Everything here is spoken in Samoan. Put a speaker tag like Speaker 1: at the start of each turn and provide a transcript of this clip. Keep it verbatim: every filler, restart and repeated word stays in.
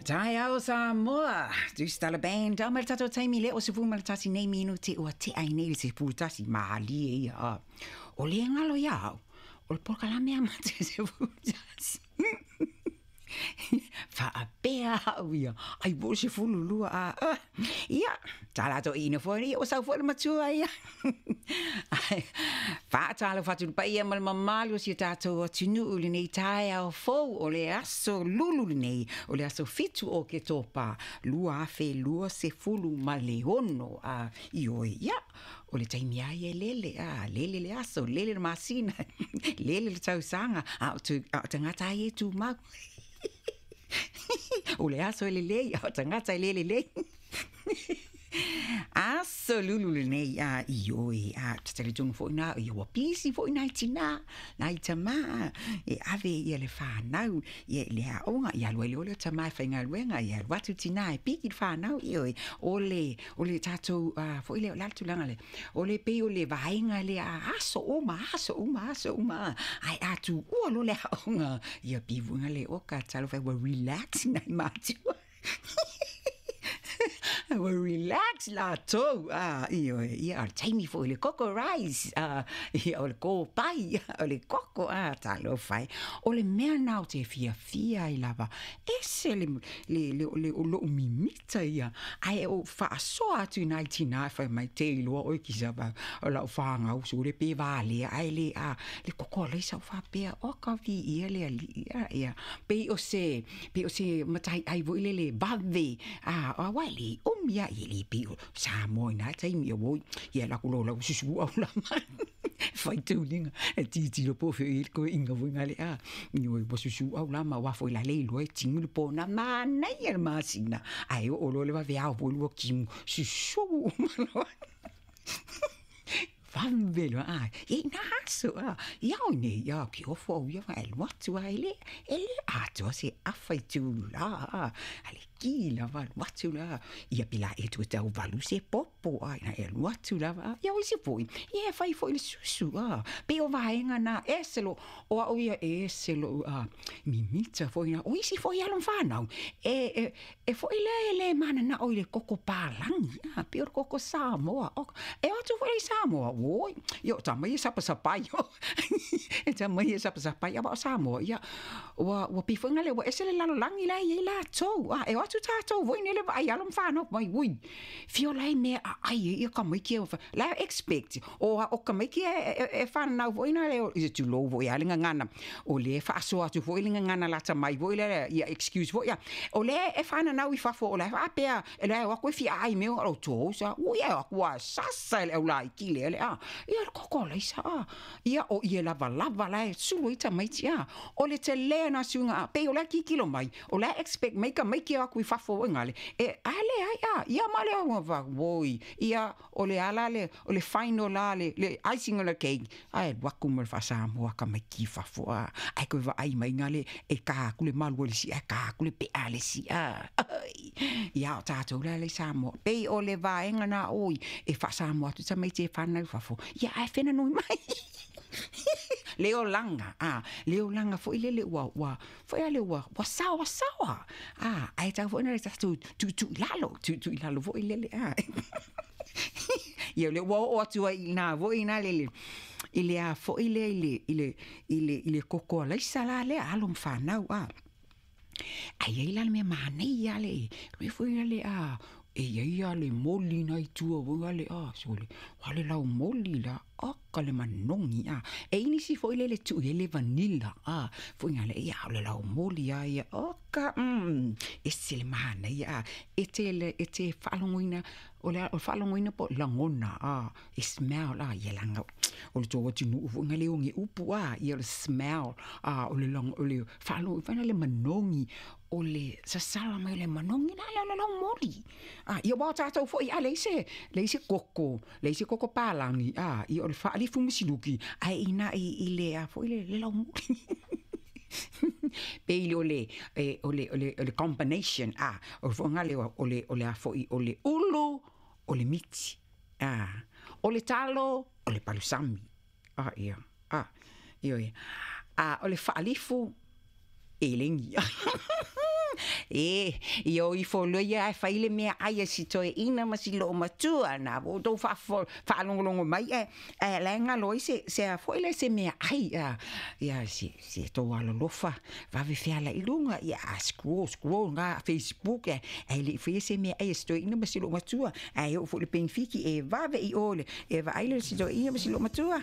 Speaker 1: Taeao Samoa, Deuce Band, a mai le tatou taimi lea o sefulu ma le tasi nei minute ua tea ai nei le sefulu tasi malie ia. A. O le galo ia au, o le polokalame a mate sefulu tasi. Faapea au ia, ai po o sefulu lua a. Uh, ia, tā ina foi, ia o sau foi le matua ia. Ai, faatalofa atu i le paia ma le mamalu o si o tatou atunuu i lenei taeao fou o le aso Lulu lenei, o le aso fitu o Oketopa, lua afe lua sefulu ma le ono. A, ioe, ia, o le taimi lava ia e lele, a, lele le aso, lele le masina, lele le tausaga, a o tu, a o tagata lava ia e tumau. O le aso e lelei, a o tagata e le lelei. Aso Lulu lenei a ioe a te talitonu foi nā ia ua pisi foi nai tinā nai tamā e ave ia le whānau ia i le aoga ia alu ai lea o le tamā e faigaluega ia alu atu tinā e piki le whānau ioe o le o le tatou uh, foi lea o le a le tulaga lea o le pei o le vaega lea a aso uma aso uma aso uma ai a tuua loa le aoga ia pivuga le oka talofa ua relax nai matua ua relax latou a ioe ia o le taimi foi o le koko rice a ia o le kopai o le koko a talofa e o le mea lena ou te fiafia ai lava ese le le le le o lou mimita ia ae ou faasoa atu i nai tinā e fai mai te iloa oe kisa o lau fanau sole pe valea ae le a le koko alaisa o faapea oka viia le alii a ia pei o se pei o se mataiai foi lele vave a aua e le umi a ia le pei o Samoa i na taimi ia oi ia alu atu loa lau susu au lama faitauliga e tilotilo po o fea o i ai le toeaina foi gale a ioe ua susu au lama aua foi la le iloa e tigu le pona manaia le masina ae oo loa le vaveao foi lua timu susu uma loa vave loa a ia ina aso a ia oi nei ia ke ofo au ia e alu atu a e le e le atoa se afa i tulā a a le ki lava alu atu la ia pe la e toe tauvalu se popo a ina e alu atu lava a ia o isi foi ia e fai foi le susu a pei o vaega na ese lo o au ia e ese lou a mimita foi na o isi foi alo ma fanau e e e foi lea e le mananao i le koko palagi a pei o le koko Samoa o e o atu foi lea i Samoa oi ia o tama ia e sapasapai e tama ia e sapasapai aua o Samoa ia ua ua pei foi lea ua ese le lalolagi la e i ai latou a e o atu tatou foi nei le vaai alo ma fanau mai ui fia ola ai mea aai ai ia tamaiti e la e expect o o tamaiti e e whanau foi na le i tulou foi a le gagana o lea e faasoa atu foi le gagana lata mai foi lea ia excuse foi ia o lea e whanau i fafo o la e faapea e la e o atu e fia aai mea o tou sa ui e o atu a sasa e le au laiti lea le a ia le koko alaisa a ia o ie lavalava la e sulu ai tamaiti a o le tele na suiga a pei o la e kikilo mai o la e expect mai tamaiti e o atu i fafo foi gale e a leai a ia ma le au oi ia o le ala le o le final la le le icing on the cake ae alu atu ma le faasamoa tamaiti i fafo a ae toe vaai mai gale e ka atu le malu o le isi ae ka atu le pea a le isi a ia o tatou la le Samoa pei o le vaega na oi e faasamoa atu tamaiti e whanau fafo ia ae whenanui mai le olaga a le olaga foi lele ua ua foi a le ua ua saoasaoa a ae tatau foi ona le tatou tuutuu i lalo tuutuu i lalo foi lele a ia o lea ua oo atu ai i ina foi ina lele i le a foi lea i le i le i le i le koko alaisa la lea alo ma fanau a ae i ai la le mea manaia le mea foi lele a e i ai lava le moli na i tua foi lale a sole o le laumoli la oka le manogi a e i ai nisi foi lele tuu i ai le vanilla a foi lale ia o le laumoli lava ia oka mm ese le manaia a e te le e te faalogoina o le faalogoina po o lagona a e smell a ia leaga o le tou atunuu foi na le oge upu a ia o le smell a o le o le faalogo foi lea le manogi o le sasala mai o le manogi la lea o le laumoli a ia aua o tatou foi a leai se leai se koko leai se koko palagi a ia o le faalifu ma siluki ae ina i i le a foi le le laumoli pei o le e o le o le o le combination a o le foga lea o le o le a foi o le ulu o le miti a o le talo o le palusami a ia a ioe a o le faalifu elegi. E ia o ifo loa ia ae fai le meaai a si toeaina ma si loomatua na ua outou faalogologo mai ae ae la e galo ai se se a foi le se meaai a ia se se tou alolofa vave feala i luga ia a scroll scroll ga Facebook ae ae le'i faia se meaai a si toeaina ma si loomatua ae oo foi i le penefiti e vave i o le e vaai le si toeaina ma si loomatua.